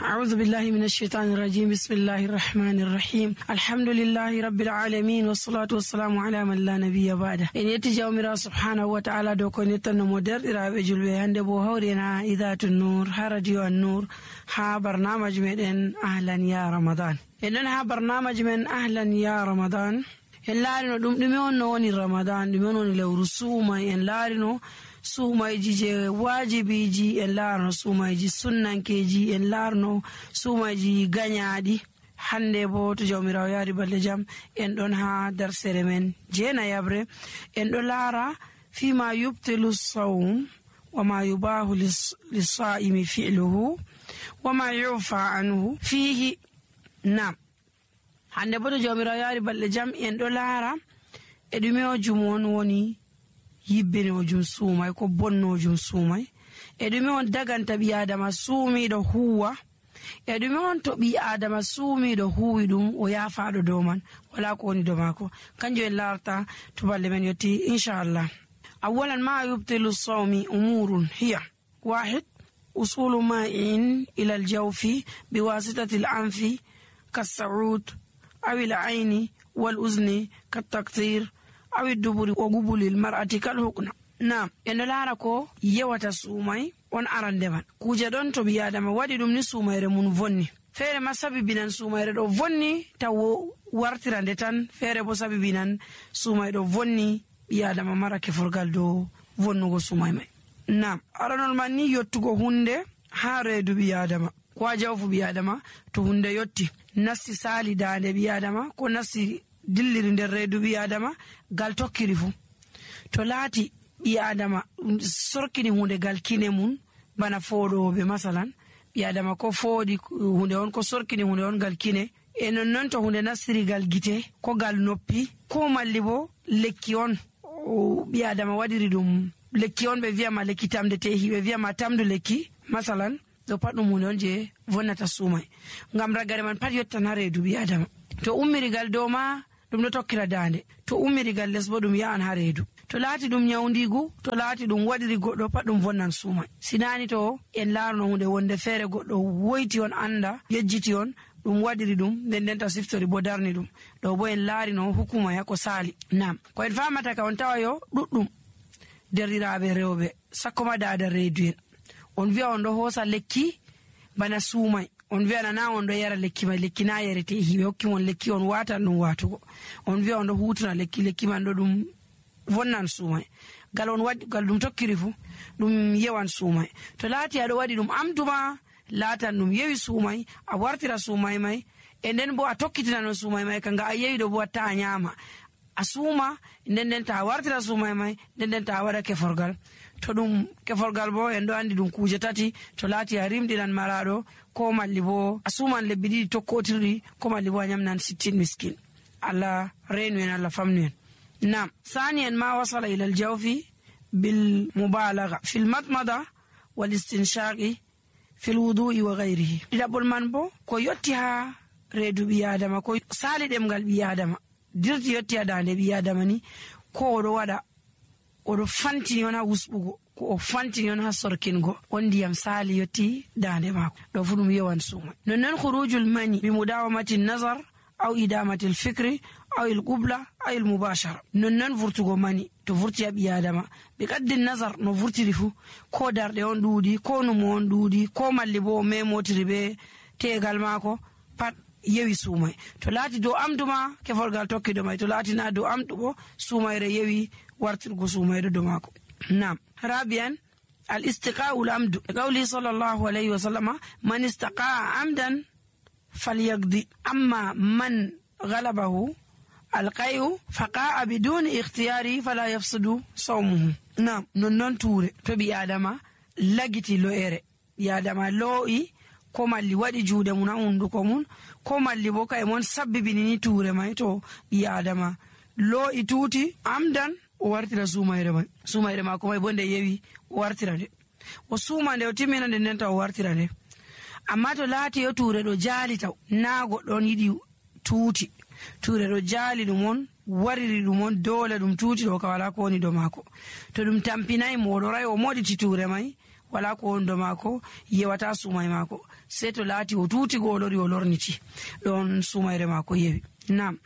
أعوذ بالله من الشيطان الرجيم. بسم الله الرحمن الرحيم. الحمد لله رب العالمين والصلاة والسلام على من لا نبي بعده. إن يتجاومر سبحانه وتعالى دوكو نتن مدر إرابة جلوه هندبو هورنا إذات النور هرديو النور ها برنامج من أهلا يا رمضان. إننا برنامج من أهلا يا رمضان en laarino ɗum ɗume on no woni ramadan ɗume on woni lewru suumay en laarino suumayji je wajibiji en laarno suumayji sunnankeji en laarno suumayji gañaaɗi. hande bo to jawmirawo yaari balɗe jam en ɗon ha darsere men jeenayabre en ɗo laara fima yubtilu sawm wama yubahu lissaimi fi'luhu wama yufa anhu fihi. nam hande bo to jawmirawo yaari balɗe jam en ɗo laara e ɗume o jumon woni yibbinojum suumay ko bonnojum suumay e ɗume on daganta ɓi adama suumiɗo huwa e ɗume on to ɓi adama suumiɗo huwi ɗum o yaafaɗo dow man wala ko woni dow maako. kanjum en larta to balɗe men yetti inchallah. awalan ma yubtilu sawmi umurun hiya wahid usulu ma'in ila aljawfi biwasitati al-anfi kas-sa'ud aw al-ayni wal-uzni kat-taktir aw ad-duburi wa qubuli al-mar'ati kal-hukna. nam en laara ko yewata suumay on arande man kuje ɗon to ɓi adama waɗi ɗum ni suumayre mun vonni. feere ma sabibinan suumayre ɗo vonni taw wartirande tan, feere bo sabibinan suumay ɗo vonni ɓi adama mara keforgal dow vonnugo suumay may. nam aranol man ni yottugo hunde ha reedu ɓi adama ko ha jawfu ɓi adama. to hunde yotti nasti sali dande ɓi adama ko nasti dilliri nder reedu ɓi adama gal tokkiri fu, to laati ɓi adama sorkini hunde gal kine mun bana fooɗoɓe masalan ɓi adama ko fooɗi hunde on ko sorkini hunde on gal kine e nonnon to hunde nastiri gal gite ko gal noppi ko malli bo lekki on ɓi adama waɗiri ɗum lekki on ɓe wiyama lekki tamde tehi ɓe wiyama tamdu lekki masalan ɗo pat ɗum hunde on je vonnata suumay ngam ragare man pat yottan ha reedu ɓi adama. to ummirigal dow ma ɗum ɗo tokkira dande, to ummirigal les bo ɗum ya'an ha reedu. to laati ɗum nyawdigu, to laati ɗum waɗiri goɗɗo pat ɗum vonnan suumay. sinani to en laarno hunde wonde feere goɗɗo woyti on anda yejjiti on ɗum waɗiri ɗum nden nden ta siftori bo darni ɗum ɗo bo en laarino hukuma yako saali. nam ko en famata ka on tawa yo ɗuɗɗum derɗiraɓe rewɓe sakkoma dada reedu en on wiya on ɗo hoosa lekki bana suumay, on wiya nana on ɗo yara lekki mai, lekki na yarete hiɓe hokkimon lekki on watan ɗum watugo, on wiya on ɗo hutuna lekki man ɗo ɗum vonnan suumay gal on waɗi gal ɗum tokkiri fu ɗum yewan suumay. to laati aɗo waɗi ɗum amduma laatan ɗum yewi suumay a wartira suumay may e nden bo a tokkitina non suumay may kanga a yewi ɗo bo watta a nyama a suuma nden nden ta wartira suumay may nden nden ta waɗa keforgal. to ɗum keforgal bo en ɗo andi ɗum kuje tati, to laati a rimɗinan maraɗo ko malli bo a suuman lebbi ɗiɗi tokkotirɗi ko malli bo a nyamnan 60 miskin. allah reenu en, allah famnu en. nam ثانيا ما وصل إلى الجوف بالمبالغة في المضمضة والاستنشاق في الوضوء وغيره. ɗiɗaɓol man bo ko yotti ha reedu ɓi adama ko sali ɗemgal ɓi adama dirti yotti ha dande ɓi adama ni ko oɗo waɗa oɗo fantini on ha wusɓugo ko o fantini on ha sorkingo on ndiyam sali yotti dande mako ɗo fu ɗum yewan suumay. nonnon khurujul mani bi mudawamati nazar aw idamati alfikri aw alqubla aw almubashara. nonnon vurtugo mani to vurti ha ɓi adama ɓe qaddi nazar no vurtiri fu ko darɗe on ɗuuɗi ko numo on ɗuuɗi ko malli bo o memotiri ɓe tegal mako pat yewi suumay. to laati dow amduma keforgal tokkido may, to laati na dow amdu bo suumayre yewi wartirgo suumayre dow mako. nam rabian al istiqa'u al amdu qawli sallallahu alayhi wa sallama man istaqa'a amdan falyaqdi amma man ghalabahu alqayu faqa'a biduni ikhtiyari fala yafsudu sawmuhu. nam nonnon tuure to ɓi adama lagiti lo'ere ɓi adama lo'i ko malli waɗi juuɗe mun ha hunduko mun ko malli bo kay mon sabbibini tuure may, to ɓi adama lo'i tuuti amdan o wartira suumayre may, suumayre mako may bo nde yewi o wartira nde o suuma nde o timmina nde nden taw o wartira nde. amma to laati yo tuure ɗo jaali taw na goɗɗon yiɗi tuuti, tuure ɗo jaali ɗum on wariri ɗum on dole ɗum tuuti ɗo ka wala ko woni dow mako. to ɗum tampinayi mo oɗo ray o moɗiti tuure may wala ko wondo maako yewata sumay maako, sei to laati o tuuti go o lori o lorniti ɗon sumayre maako yewi. Nam.